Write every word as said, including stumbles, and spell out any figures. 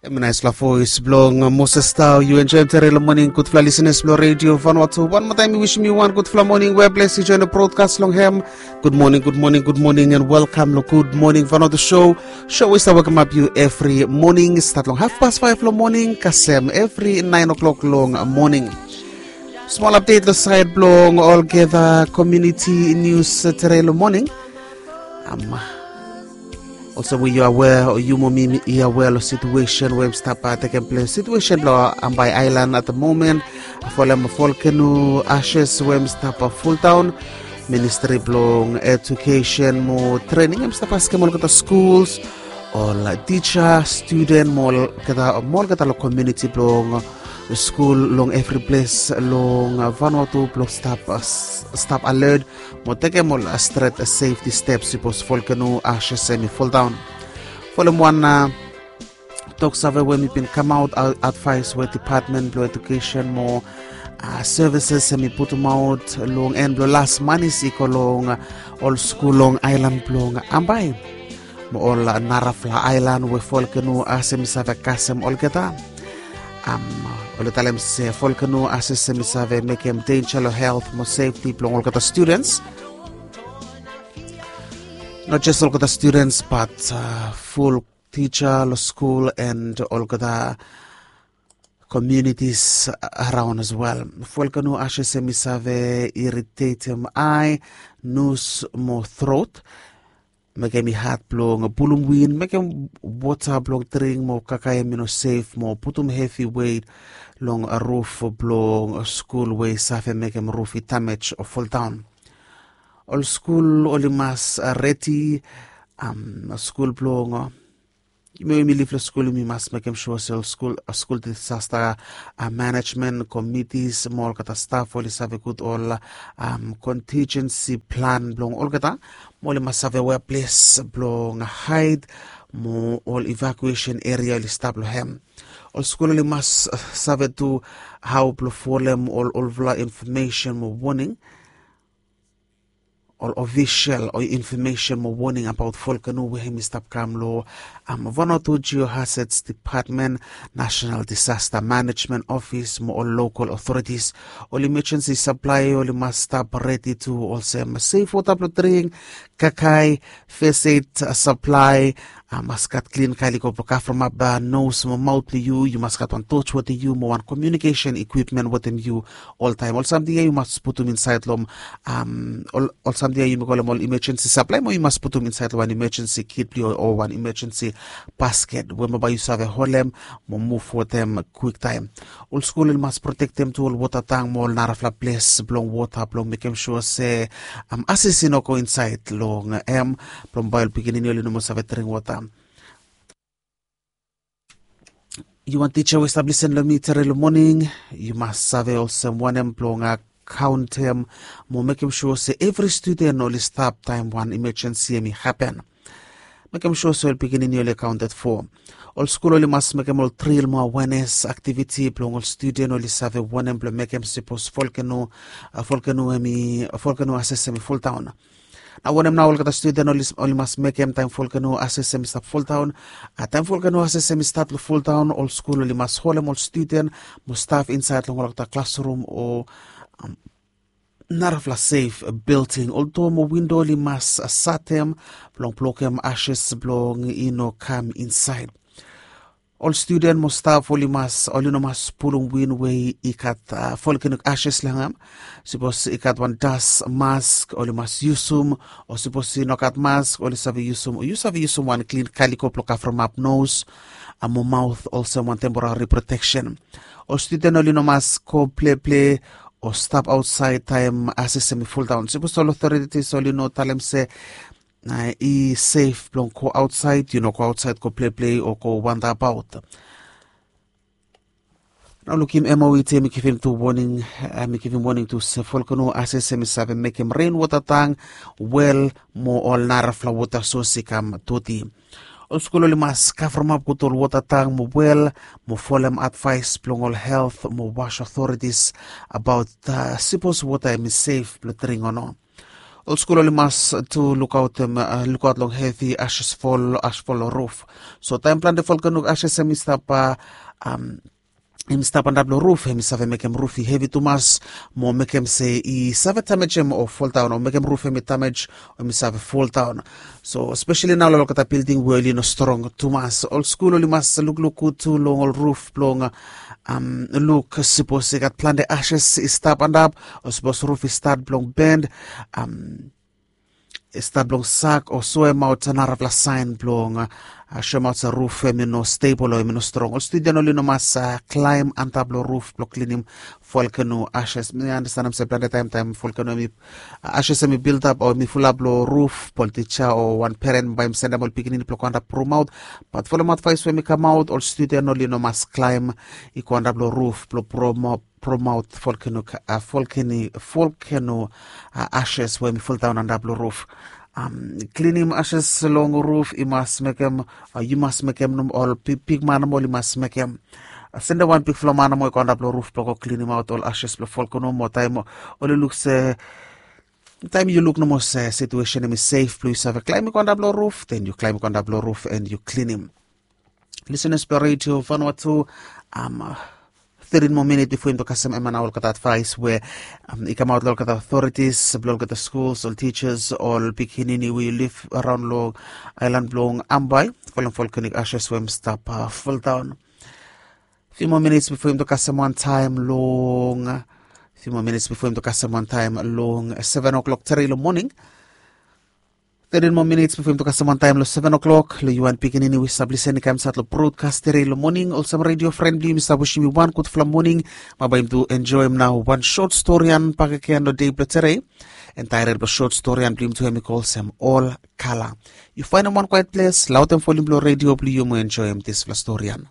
Em i naispela voes bilong Moses Tau. Yu enjoim tere long moning, gudfala lisenas bilong redio Vanuatu. Wan moa taim mi wisim yu wan gudfala moning we ples yu join brodkas long hem. Gud moning, gud moning, gud moning, and welkam long Gud Moning Vanuatu show. Show we i stap wekemap yu evri moning, stat long hafpas faiv long moning kasem evri nain o'clock long moning. Smol apdet long sait bilong olgeta komuniti nius tere long moning. Am, olsem we yu aware, o yu mo mi i aware long situation we em stap tekem ples, situation bilong Ambae Island at the moment. Folem volcano ashes we em stap fuldaun. Ministri bilong Education mo Training em stap askem olgeta schools, ol tisa, student mo olgeta, mo olgeta long komuniti bilong skul long evri ples long Vanuatu bilong stap, stap alert mo tekem ol stret safety steps sipos volcano ashes em i foldaun. Folem wan toksave we mi bin kamaut, advais we Department bilong Education mo Services em i putumaut long en bilong las manis i go long ol skul long ailan bilong Ambae mo ol narafala ailan we volcano ashes em i save kasem olgeta. Am, oli talem se volcano ashes em i save mekem denja long helt mo sefti bilong olgeta students. Not just olgeta students, but ful tisa long skul and olgeta communities around as well. Volcano ashes em i save iritetim ai, nus mo throat. Mekem i hat bilong pulum win, mekem wota bilong dring mo kakae em i no sef mo putum hevi wet long ruf bilong skul we i save mekem ruf i damej o foldaun. Ol skul oli mas redi, am, skul bilong, yumi we yumi liv long skul yumi mas mekem sua se ol skul, skul disasta management committees mo olgeta staf oli save gut ol contingency plan bilong olgeta, mo oli mas save wea ples bilong haid mo ol evacuation area oli stap long hem. Ol skul oli mas save tu hau bilong folem ol olfala infomesen mo woning, ol ofisel o infomesen mo woning abaot volkeno we hem i stap kam long Vanuatu Geohazards Department, National Disaster Management Office mo ol lokal otoritis. Ol imajensi saplae oli mas stap redi tu, olsem sef wota bilong dring, kakae, fes ed saplae, mas gat klin kaliko blong kavremap nos mo maut blong yu. Yu mas gat wan toch wetem yu mo wan komiunikesen ikwipmen wetem yu oltaem. Ol samting ya yu mas putum insaed long ol samting ya yumi kolem ol imajensi saplae mo yu mas putum insaed long wan imajensi kit blong yu o wan imajensi basket we mo bae yu save holem mo muv wetem kwiktaem. Ol skul oli mas protektem tu ol wota tang mo ol narafala ples blong wota blong mekem sua se ases i no go insaed long hem blong bae ol pikinini oli no moa save dring wota. Yu wan tija we i stap lisen long mi tere long moning, yu mas save olsem wanem blong kauntem mo mekem sua se evri studen oli stap taem wan imajensi hem i hapen. Mekem sua se ol pikinini oli kaunted fo. Ol skul oli mas mekem ol dril mo awenes aktiviti blong ol studen oli save wanem blong mekem sipos volkeno, volkeno hem i, volkeno ases hem i foldaon. Na wanem nao olgeta studen oli mas mekem taem volkeno ases hem i stap foldaon? Taem volkeno ases hem i stat long foldaon, ol skul oli mas holem ol studen mo staf insaed long olgeta klasrum o narafala sef bilting. Ol doa mo windo oli mas satem blong blokem ases blong i no kam insaed. Ol studen mo staf oli mas, oli no mas pulum win we i gat volkenik ases long hem. Sipos i gat wan das mask oli mas yusum, o sipos i no gat mask oli save yusum, o yu save yusum wan klin kaliko blong kavremap nos mo maut olsem wan temporari proteksen. Ol studen oli no mas go pleple o stap aotsaed taem ases hem i foldaon. Sipos ol otoritis oli no talem se i sef blong go aotsaed, yu no go aotsaed go pleple o go wandabaot. Nao lukim M O E T hem i givim tu woning, hem i givim woning tu se volkeno ases hem i save mekem renwota tang, wel mo ol narafala wota sos i kam doti. Ol skul oli mas kavremap gut ol wota tang mo wel mo folem advaes blong ol helt mo was otoritis abaot sipos wota hem i sef blong dring o no. Ol skul oli mas tu lukaotem lukaot long hevi ashes fol ashes fol long ruf. So taem plante volcanic ashes hem i stap hem i stap antap long ruf, hem i save mekem ruf i hevi tumas mo mekem se i save damejem o foldaon o mekem ruf hem i damej o hem i save foldaon. So speseli nao long olgeta bilding we oli no strong tumas, ol skul oli mas lukluk gud tu long ol ruf blong luk sipos i gat plante ashes i stap antap o sipos ruf i stat blong ben i stap blong sak o soemaot narafala saen blong soemaot se ruf hem i no stebol o hem i no strong. Ol studen oli no mas klaem antap long ruf blong klinim volkeno ashes. Mi andastanem se plante taem taem volkeno hem i ashes hem i bildap o hem i fulap long ruf, bol tija o wan peren bae hem sendem ol pikinini blong go antap promaot. Bat folem advaes we hem i kamaot, ol studen oli no mas klaem i go antap long ruf blong promaot volkeno volkeno ashes we hem i foldaon antap long ruf. Klinim ashes long ruf i mas mekem yu mas mekem ol bigman nomo oli mas mekem. Sendem wan bigfala man nomo i go antap long ruf blong go klinimaot ol ashes blong volkeno mo taem oli luk se taem yu luk nomo se situesen hem i sef blong yu save klaem i go antap long ruf, den yu klaem i go antap long ruf en yu klinim. Lisenas blong redio vanua tu. Tetin moa minit bifo yumi to kasem ema na olgeta advaes we i kamaot long olgeta authorities blong olgeta schools, ol teachers, ol pikinini we yu live around long aelan blong ambai, folem volcanic ashes we hem stap foldaon. Few moa minits bifo yumi to kasem wan taem long few moa minits bifo yumi to kasem wan taem long seven o'clock tere long moning. Tetin moa minits bifo yumi to kasem wan taem long seven o'clock long yu wan pikinini we sab lisen i kam sat long brodkas tere long moning, olsem redio fren blong yumi sab wisim yu wan gudfala moning. Bae yumi tu enjoem nao wan sot storian bakegen long dei blong tere. En taetel blong sot storian blong yumi tu hem i go olsem ol kala. Yu faenem wan kwaet ples, laotem volim blong redio blong yu mo enjoem disfala storian.